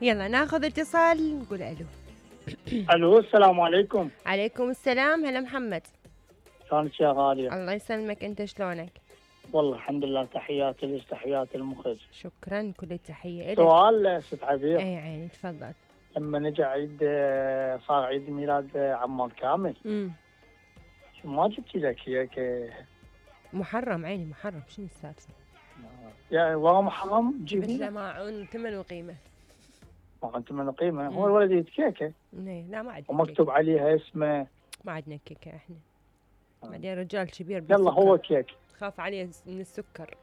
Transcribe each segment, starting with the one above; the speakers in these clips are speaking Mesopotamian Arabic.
يلا ناخذ اتصال نقول الو. الو السلام عليكم. عليكم السلام. هلا محمد. شلونك يا غالية؟ الله يسلمك، انت شلونك؟ والله الحمد لله، تحياتي لك تحياتي المخرج. شكرا، كل التحية لك. سؤال ست عبير. اي عيني تفضل. لما نجي عيد صار عيد ميلاد عمار كامل، ما جبتي له كيك؟ محرم عيني محرم، شنو السالفة؟ يعني والله محرم جبت تجيبي له له؟ ماعون ثمن وقيمة. ما انت من قيمة. هو الولد يريد كيكة لا ما عندنا ومكتوب عليها اسمه. ما عندنا كيكة احنا. بعدين رجال كبير يلا هو كيك. خاف عليه من السكر.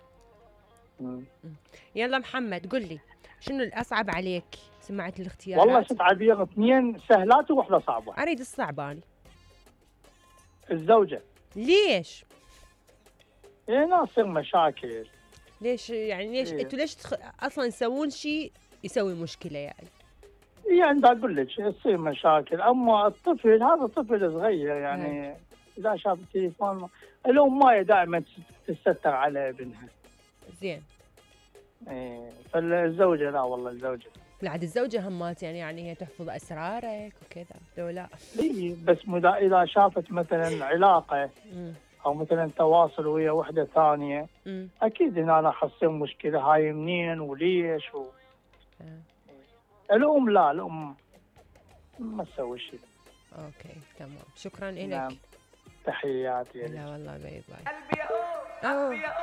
يلا محمد قل لي شنو الأصعب عليك؟ سمعت الاختيارات؟ والله ست عبير، اثنين سهلات وواحدة صعبة. أريد الصعبة أنا. الزوجة. ليش؟ هنا تصير مشاكل. ليش يعني؟ ليش انتوا ليش اصلا تسوون شيء يسوي مشكله يعني؟ يعني دا اقول لك تصير مشاكل، اما الطفل هذا طفل صغير يعني اذا شاف التليفون الام ما دائما تستر على ابنها. زين. فالزوجه لا والله الزوجه. بعد الزوجه همات يعني هي تحفظ اسرارك وكذا لو لا. اي بس اذا شافت مثلا علاقه او مثلا تواصل ويا وحده ثانيه اكيد هنا راح تصير مشكله، هاي منين وليش الام لا، الام ما تسوي شيء. اوكي تمام، شكرا لك. نعم. تحياتي. لا والله باي باي. قلبي يا قلبي يا